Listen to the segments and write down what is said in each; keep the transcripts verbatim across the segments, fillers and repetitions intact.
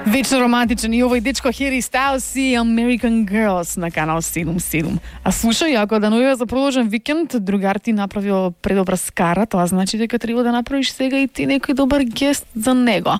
Вечно романтичен и овој дечко Хери Стайлс и American Girls на канал седум седум. А слушај, ако да најава за продолжен викенд, другар ти направил предобра скара, тоа значи дека треба да направиш сега и ти некој добар гест за него.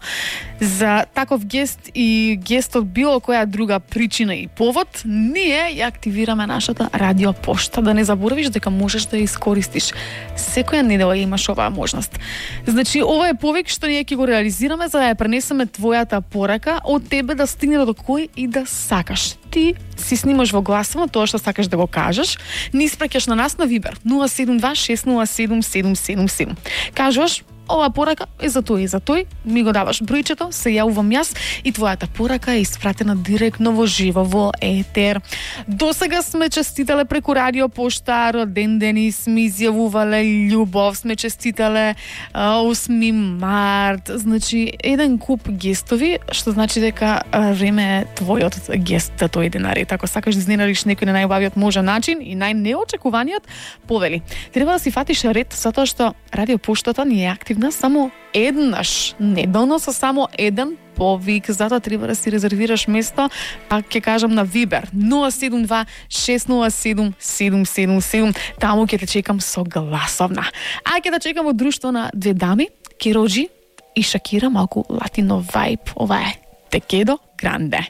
За таков гест и гест од било која друга причина и повод, ние ја активираме нашата радио пошта. Да не заборавиш дека можеш да ја искористиш. Секоја недела имаш оваа можност. Значи, ова е повик што ние ќе го реализираме за да ја пренесеме твојата порака од тебе да стигне до кој и да сакаш. Ти си снимаш во гласово тоа што сакаш да го кажеш, ни испраќаш на нас на Вибер нула седум два шест нула седум седум седум седум. Кажуваш, ова порака е за тој и за тој, ми го даваш бројчето, се јавувам јас и твојата порака е испратена директно во живо во етер. Досега сме честитале преку радио пошта, роден дени сме изјавувале, љубов сме честитале, осми март, значи еден куп гестови, што значи дека време е твојот гест да дојде на ред. Ако сакаш да изненадиш некој на најубавиот можен начин и најнеочекуваниот, повели. Треба да си фатиш ред, затоа што радио поштата ни е активна само еднаш неделно со само еден повик, затоа треба да си резервираш место, а ќе кажам на Вибер нула седум два шест нула седум седум седум седум. Таму ќе те чекам со гласовна. А ќе те чекам од друштво на две дами, Кероџи и Шакира, малку латино вајб. Ова е Те Quedo Grande.